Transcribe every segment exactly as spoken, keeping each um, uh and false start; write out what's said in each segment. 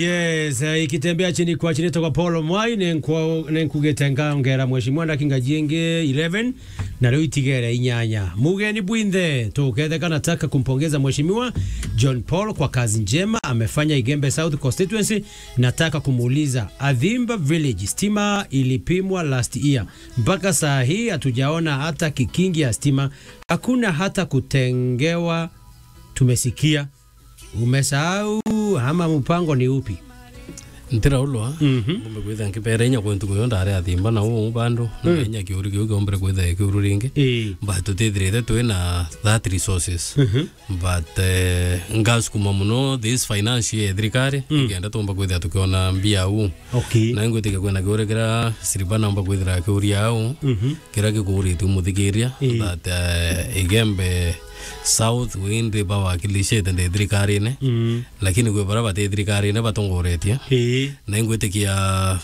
Yes, eh, ikitembea chini kwa chini toka Paul Mwai, nenkwa-, nenkugite ngaongera Mheshimiwa na kinga jingi eleven, na riu itigere inyanya. Mugeni bwinthe, tuketheka, nataka kumpongeza Mheshimiwa John Paul kwa kazi njema amefanya Igembe South Constituency. Nataka kumuuliza, Athimba Village, stima ilipimwa last year. Mpaka saa hii hatujaona hata kikingi ya stima. Hakuna hata kutengewa, tumesikia. Umesahau ama mpango ni upi? Ntiraulwa, Mhm. ngombe kwitha nkibera inya kwentu kuyo ndare Athimba na uu bandu, Mm. na inya kiuri kiu kiombere kwitha kiuru ringi. Ii. But tutithirite twi na that resources. Mhm. But, eh, ngasukuma muno this finance ya thirikari, Mm. ikenda tumba kwithira tukiona mbia uu. Okay. Na ingwitikia kwina kiuri kira Siriba naumba kwithira akiuria au, Mhm. kira gikuuritue muthikiria, Ii. that, eh, Igembe South windi bawakilishite ndi thirikarine, Mm. lakini kwi bara bati thirikarine batongoretie. Ii. Na ingwitikia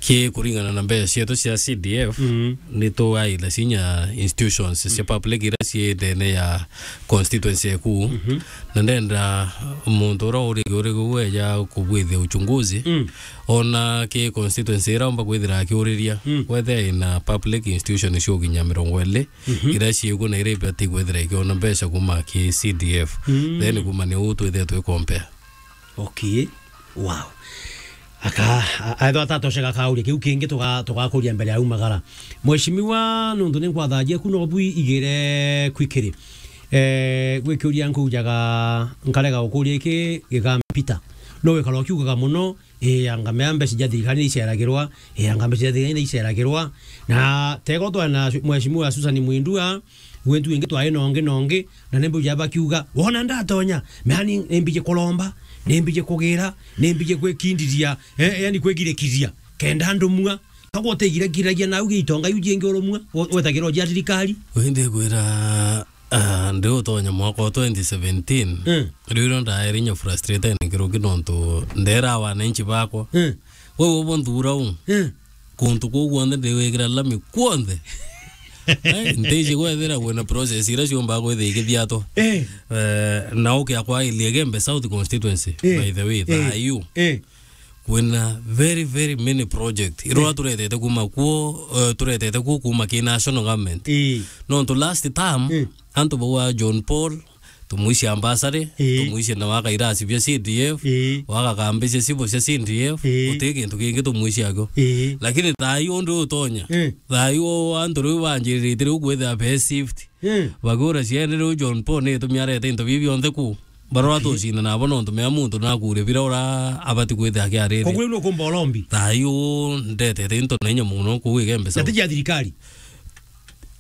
ki kuringana na mbeca cietu cia C D F, Mm. ni tuaitha cinya institutions cia public iria cii ndene ya constituency eku. Mhm. Na ndenda muntu uria uri, uri gueja kubwithia uchunguzi, Mm. ona ki constituency ira umba kwithira akiuriria, Mm. wethe ina public institution cia ukinya mirongo iri, Mhm. iria ciikuo na iria ibati kwithira ikiona mbeca kuma ki C D F. Mm. Then kuma ni uu twithire twi compare. Okay. Wow. Aka, a-, aethwa atatosheka kauria kiu kingi tuga-, tugakuria mbere ya umagara. Mheshimiwa, nuntu ni nkwathajia ku no bwi igire kwikiri. Eh, gwikiuria nkujaga, nkarega gukuria iki gigampita. No wikara ukiugaga muno, eh, anga mea mbeca cia thirikari ni iceragirwa, eh, anga mbeca cia thirikari ni iceragirwa. Na tego twana Mheshimiwa Susan Mwindua, gwentu ingi twai nongi nongi, na ni mbuja bakiuga, wona ndatonya, mea ni, ni mbije kuromba, ni mbije kugira, ni mbije gwikindiria, eh, yani kwigirikithia, kenda ndumua. Kagwa utigirikithagia nau gia itonga iu jingi urumua, we-, wetagirwa jia thirikari. Wi ndikwira, ah, ndi utonya mwaka wa twenty seventeen, Mm. riu iro ndaere inya frustrated nkiruki nontu ndera wananchi bakwa. Mm. Wewe ubo nthura u. Mm. Kuntu kuu guonthe ndiwikira lami kuonthe. Eh, ntiji gwethira kwina process iria ciumbaga kwithia ikithiatwa. Eh. Eh, na ukia kwa Igembe South Constituency, Eh. by the way, Eh. thayu. Eh. Kwina very, very many project. Irora Eh. turetete kuma kuo, eh, turetete kuo kuma ki national government. Eh. Nontu last term, Eh. antu bau a John Paul, tumwicia ambassador, Ii. tumwicia na waka irasi bia C D F, Ii. waka kambi cia civil cia C D F, Ii. uti kintu kingi tumwicia akio. Ii. Lakini thayu undi utonya, Ii. thayu antu riu banjirite riu kwithira be shift. Ii. Bagura ciene riu John Paul ni itumi arete into bibi bionthe ku. Barora Okay. tucina nabo nontu mea muntu nakuria bira ura abati kwithira akiarite. Koguo riu nukumba urombi? Thayu ndetete into na inya muno kuu Igembe South. Natija thirikari.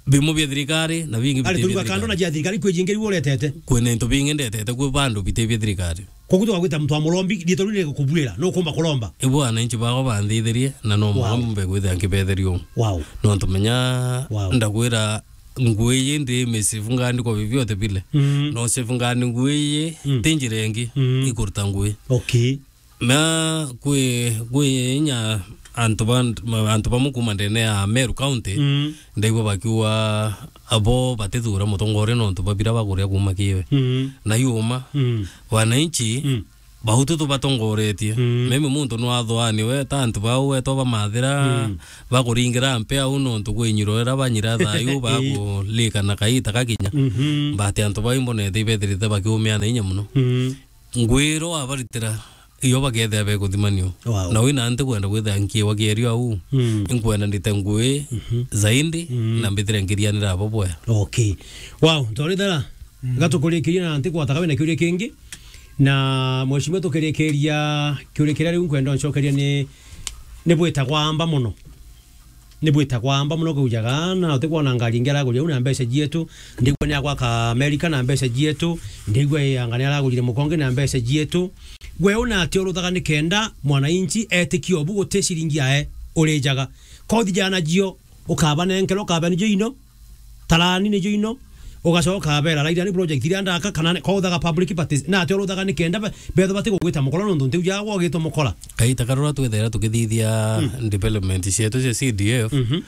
Bimwe bia thirikari na bingi Ari bitiri bia turuga kando na thirikari. Jia thirikari kwi jingi riu uretete. Kwina into bingi ndetete kwi bandu biti bia thirikari. Koguo tugagwita muntu wa murombi, riitwa riu ni gukubwira, nukumba kuromba. Ibu wananchi bakwa banthithirie, na no Wow. murombe gwithia nkibetheria uu. Wow. Nontu menya Wow. ndagwira ngui iji ndi misivungani kwa vyovyote vile. Mm. No sivungani ngui iji Mm. ti njira ingi Mm. ikuruta ngui. Okay. Na kwi, kwi inya antu ba, antu bamwe kuma ndene ya Meru County, Mm. ndaigua bakiuga abo batithura mutongoria nontu ba bira bakuria kuma kiwe. Mm. Na yuma, Mm. wananchi, Mm. bautu tubatongoretie. Mm. Mimi muntu nwathwani we, ta antu bau wetwa bamathira, Mm. bakuringira mpe au nontu kwi nyiro ira banyira thayu, bakulika na kaita gakinya. Mhm. But antu bau imbonete ibethirite bakiumia na inya muno. Mm. Ngwiro abaritira iyo bakethia bekuthimanio. Wow. Na wina nti kwenda kwithia nkiwa kierio au. Mm. Inkwenda ndite ngui Mhm. zaidi Mhm. na mbithire nkirianira abo bwea. Okay. Wow, ntorithera. Mm. Gatukurikiria na nti kwataga wina kiuria kingi. Na mheshimiwa tukirikiria kiuria kiria riu nkwenda ncokeria ni, ni bwitagwa amba muno. Ni bwitagwa amba muno kujaga, na utikwona ngari ingi araguria u na mbeca cietu, ndigua ni agwaka Amerika na mbeca cietu, ndigua i anga ni aragurire mukonge na mbeca cietu. Gwe una ati uruthaga ni kenda mwananchi etikie ubu guti ciringi yae urijaga. Kothi jana jio, ukaba nenkero, ukaba nijo ino, tarani nijo ino, ugacoka abera, Rairani project iria ndaka, kana ne-, kwa uthaga public parties, na ati uruthaga ni kenda be-, betho bati gugwita mukora nontu nti ujaga gwagitwo mukora. Kaita karura twethera tukithithia Mm. development cietu cia C D F, Mhm.